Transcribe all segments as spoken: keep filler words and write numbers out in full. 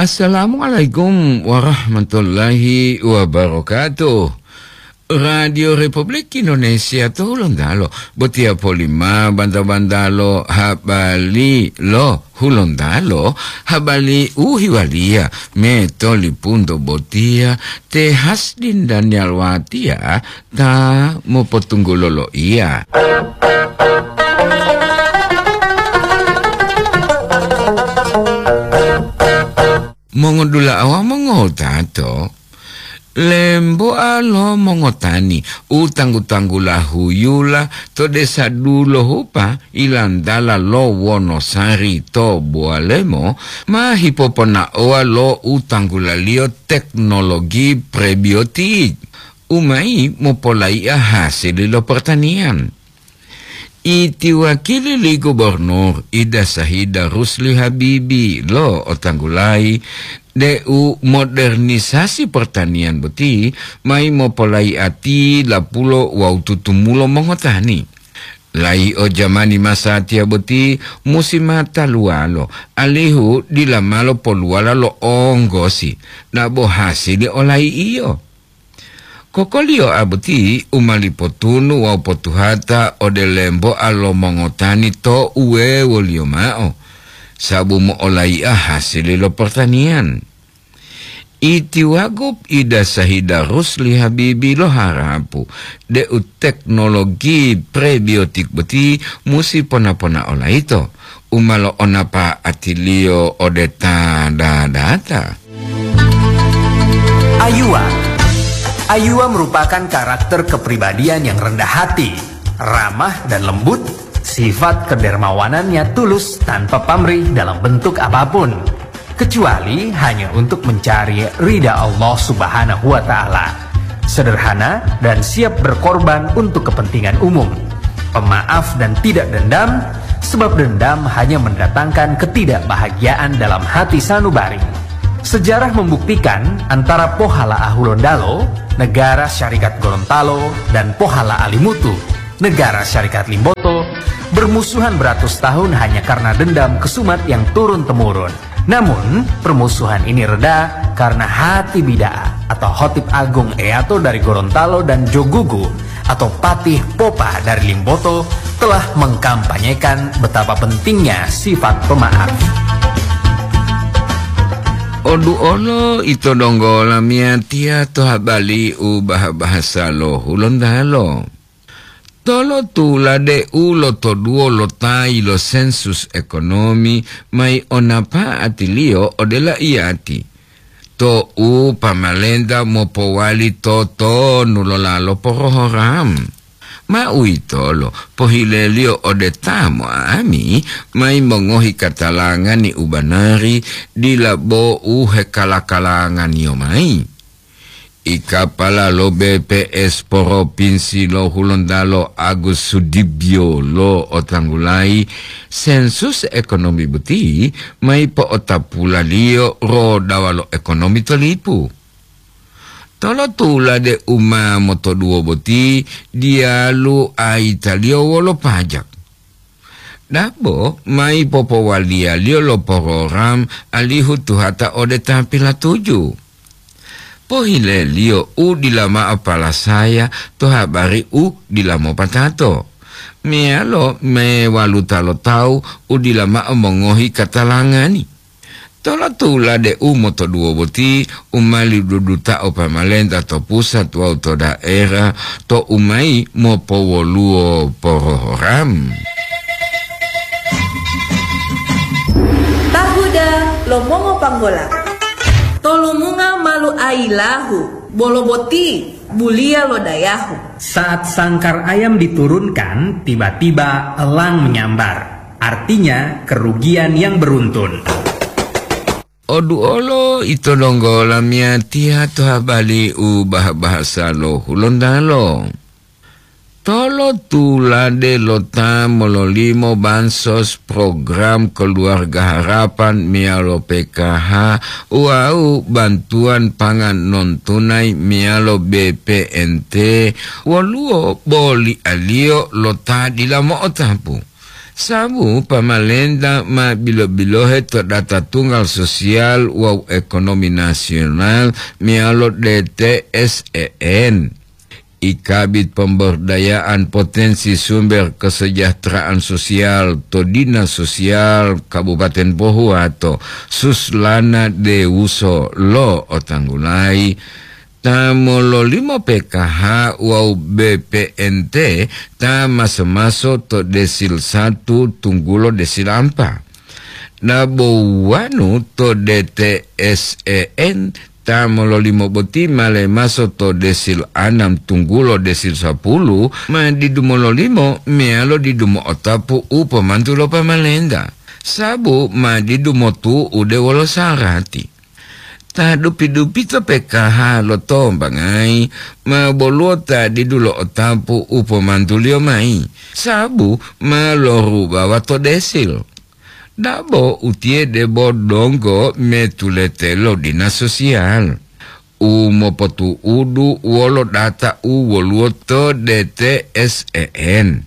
Assalamualaikum warahmatullahi wabarakatuh. Radio Republik Indonesia to Hulontalo, botiya polima banta-bantalo habali lo Hulontalo, habali u hiwaliya me to lipunto botiya te Hasdin Daniel Watiya ta mopotunggulo loiya. Mongodula'a wawu mongotato, lembo'a lo mongotani u tanggu-tanggula huyula to desa Dulohupa ilantala lo Wonosari to Bowalemo ma hipoponaowa lo u tanggulaliyo teknologi prebiotik u mayi mopolai'a hasili lo pertanian. Iti wakili li gubernur Ida Sahida Rusli Habibi lo otanggulayi deu modernisasi pertanian boti mayi mopolai'ati lapulo wawu tutumulo mongotani. Layi'o jamani masatiya boti musi ma taluwalo, alihu dila malo poluwala lo onggosi, dabo hasili olayi'iyo. Kokoliyoa boti u ma lipotunu wawu potuhata ode lembo'a lo mongotani to uwewoliyo mao, sabu mo'olai'a hasili lo pertanian. Iti wagu Ida Sahida Rusli Habibi lo harapu deu teknologi prebiotik boti musi pona-pona olayito u ma lo'onapa'atiliyo ode ta dadata. Ayuwa. Ayuwa merupakan karakter kepribadian yang rendah hati, ramah dan lembut, sifat kedermawanannya tulus tanpa pamrih dalam bentuk apapun, kecuali hanya untuk mencari ridha Allah Subhanahu wa Ta'ala. Sederhana dan siap berkorban untuk kepentingan umum. Pemaaf dan tidak dendam, sebab dendam hanya mendatangkan ketidakbahagiaan dalam hati sanubari. Sejarah membuktikan antara Pohala Ahulondalo, Negara Syarikat Gorontalo, dan Pohala Alimutu, Negara Syarikat Limboto, bermusuhan beratus tahun hanya karena dendam kesumat yang turun-temurun. Namun, permusuhan ini reda karena Hati Bida'a atau Hotib Agung Eato dari Gorontalo dan Jogugu atau Patih Popa dari Limboto telah mengkampanyekan betapa pentingnya sifat pemaaf. Oduolo ito donggo lamiyatiya to habali u bahasa lo Hulontalo. Tolotula deu lotoduwo lo tayi lo sensus ekonomi mayi o napa'atiliyo ode laiyati, to'u pamalenta mopowali totonu lo lalo porohoram. Ma uwitolo pohileliyo ode ta mo'ami mayi mongohi katalangani u banari, dila bo u hekala-kalanganiyo mayi. Ikapala lo B P S Propinsi lo Hulontalo Agus Sudibyo lo otanggulayi, sensus ekonomi boti mayi po'otapulaliyo rodawa lo ekonomi to lipu. Tolotula deu ma motoduwo boti diyalu ayitaliyo wolo pajak. Dabo mayi popowaliyaliyo lo porogram alihu tuhata ode ta pilatuju. Pohileliyo u dila mao palasaya to habari u dila mopatato, meyalo mewaluta lo tawu u dila mao mongohi katalangani. Tolotula deu motoduwo boti u ma ledudutao pamalenta to pusat wawu to daerah to u mayi mopowoluwo porogram. Tahuda lo mongopanggola. Tolomunga malu ayilahu, bolo boti buliya lo dayahu. Saat sangkar ayam diturunkan, tiba-tiba elang menyambar. Artinya, kerugian yang beruntun. Oduolo ito donggo lamiyatiya to habali u bah-bahasa lo Hulontalo. Tolotulade lo ta mololimo bansos program Keluarga Harapan meyalo P K H wawu bantuan pangan non tunai meyalo B P N T, woluwo bolialiyo lo ta dila mo'otapu. Sabu pamalenta ma bilo-bilohe to data tunggal sosial wawu ekonomi nasional meyalo D T S E N. I Kabid Pemberdayaan Potensi Sumber Kesejahteraan Sosial to Dinas Sosial Kabupaten Pohuwato, Suslana Dewuso lo'otanggulayi, ta mololimo P K H wawu B P N T ta maso-maso to desil satu tunggulo desil ampa. Dabo uwanu to D T S E N ta mololimo boti ma lemaso to desil anam tunggulo desil sapulu, ma didu mololimo meyalo didu mo'otapu u pomantu lo pamalenta, sabu ma didu motu'ude wolo sarati. Ta dupi-dupito P K H lotombangayi, ma boluwo ta didu lo'otapu u pomantuliyo mayi, sabu ma lorubawa to desil. Dabo utiye debo donggo metulete lo dinas sosial u mopotu'udu wolo data u woluwo to D T S E N.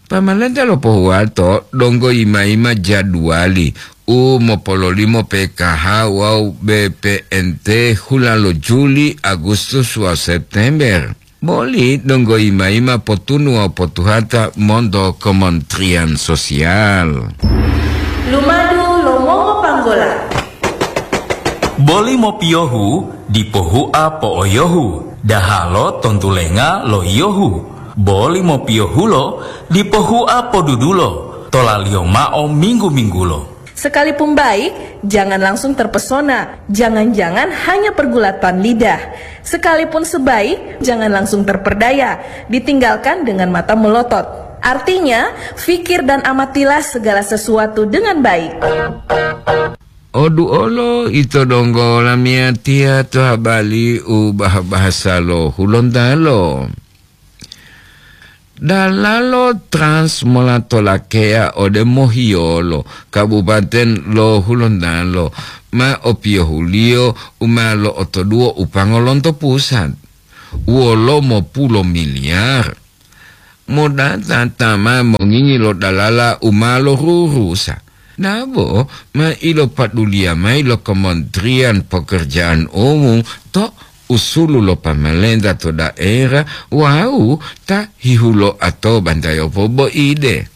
Pamalenta lo Pohuwato donggo yima-yima jaduwali u mopololimo P K H wawu B P N T hula lo Juli, Agustus wawu September. Boli donggo yima-yima potunu wawu potuhata monto Kementerian Sosial. Lumadu lo mongopanggola. Boli mopiyohu dipo hua po'oyohu, dahalo tontulenga loiyohu. Boli mopiyohulo dipo hua podudulo, tolaliyo mao minggu-minggulo. Sekalipun baik, jangan langsung terpesona. Jangan-jangan hanya pergulatan lidah. Sekalipun sebaik, jangan langsung terperdaya. Ditinggalkan dengan mata melotot. Artinya, pikir dan amatilah segala sesuatu dengan baik. Oduolo ito donggo lamiyatiya to habali u bah-bahasa lo Hulontalo. Dalalo Trans mola to Lakeya ode Mohiyolo, Kabupaten lo Hulontalo, ma opiyohuliyo u ma lo'otoduwo upango lonto pusat, wolo mopulo miliyar. Modata ta ma mongingi lo dalala u ma lorurusa. Dabo ma ilopaduliya mayi lo Kementerian Pekerjaan Umum to usulu lo pamalenta to daerah wawu ta hihuloa to bantayopo boide.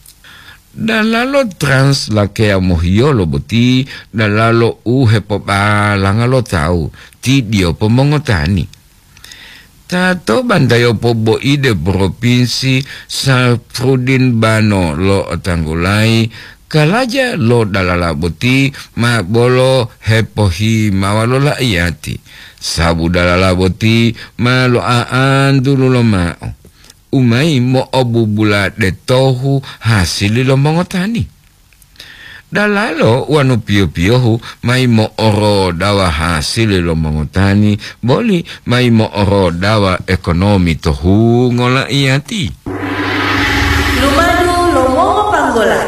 Dalalo Trans Lakeya Mohiyolo boti dalalo u hepobalanga lo tawu, ti diyopo mongotani. Ta to bantayopo boide Propinsi, Safrudin Bano lo'otanggulayi, kalaja lo dalala boti ma bolo hepohimawa lo la'iyati, sabu dalala boti ma lo'a'antu lulomao, u mayi mo'obubula detohu hasili lo mongotani. Dalalo wanu piyo-piyohu mayi mo'orodawa hasili lo mongotani, boli mayi mo'orodawa ekonomi to hungo la'iyati. Lumadu lo mongopanggola.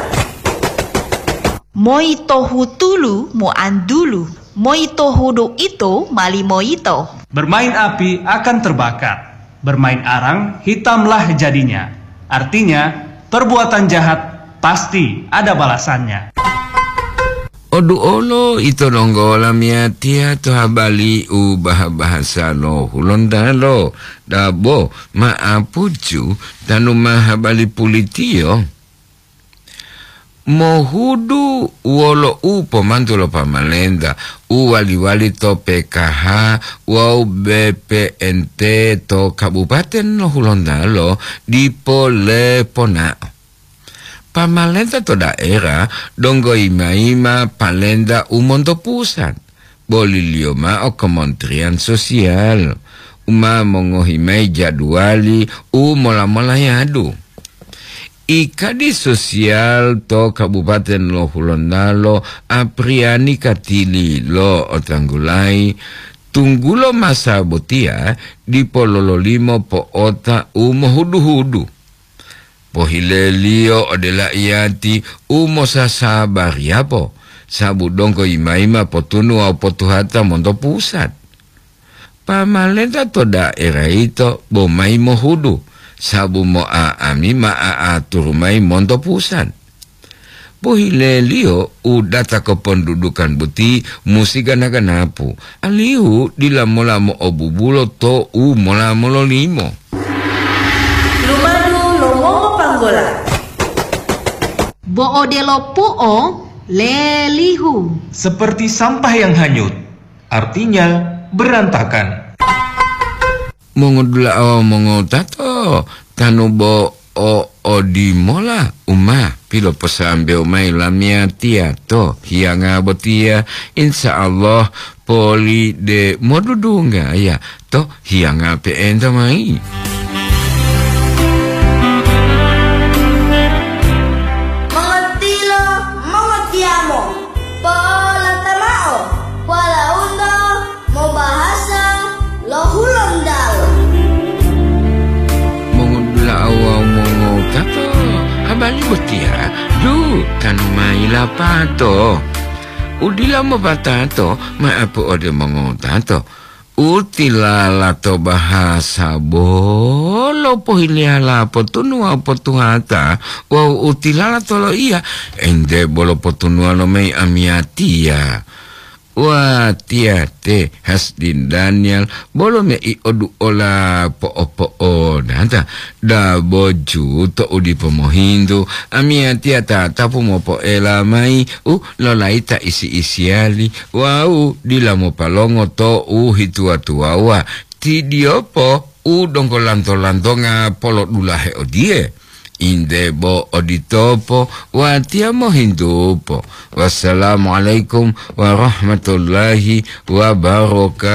Moi tohu tulu mu'antulu, moi tohu do ito mali moyito. Bermain api akan terbakar. Bermain arang, hitamlah jadinya. Artinya, perbuatan jahat pasti ada balasannya. Oduolo ito donggo lamiyatiya to habali u bah-bahasa lo Hulontalo, dabo ma'apucu tanu ma habali pulitiyo. Mohudu wolo u pomantu lo pamalenta u wali-wali to P K H wawu B P N T to Kabupaten lo Hulontalo dipo leponao. Pamalenta to daerah donggo yima-yima palenta u monto pusat, boliliyo mao Kementerian Sosial u ma mongohi mayi jaduwali u mola-molayadu. I Kadi Sosial to Kabupaten lo Hulontalo, Apriani Katili lo'otanggulayi, tunggulo masa botiya dipo lololimo po'ota u mohudu-hudu. Pohileliyo ode la'iyati u mosasabariyapo, sabu donggo yima-yima potunu wawu potuhata monto pusat. Pamalenta to daerah yito bo mayi mohudu, sabu mo'a'ami ma a'aturu mayi monto pusat. pohileliyo u data kopondudukan boti musi gana-ganapu, alihu dila mola mo'obubulo to u mola mololimo. Lumadu lo mongopanggola. Bo odelo pu'o lelihu. Seperti sampah yang hanyut, artinya berantakan. Mongodula'a wawu mongotato, tanu bo o odimola u ma piloposambewo mayi lamiyatiya to hiyanga botiya, insya Allah poli de modudunggaya to hiyanga pe'enta mayi. Mongotilo, mongotiyamo, polata mao, walaundo mobahasa lo Hulontalo. Mongodula'a wawu mongotato, habari botiya du tanu mayi lapato. Udila mopatato ma'apu ode mongotato. Utilala to bahasa bolo pohiliyala potunuwa potuhata wawu utilala to loiya ente bolo potunuwa lo mayi amiyatiya. Watiya te Hasdin Daniel bolo mei oduola po'o-po'onata. Dabo ju to u dipo mohintu, amiyatiya tatapu mopoela mayi u lolayita isi-isiyali wawu dila mopalongo to u hituwa-tuwawuwa. Ti diyopo u donggo lanto-lantonga polodulahe odiye, inde bo oditopo watiya mohintupo. Wassalamualaikum warahmatullahi wabarakatuh.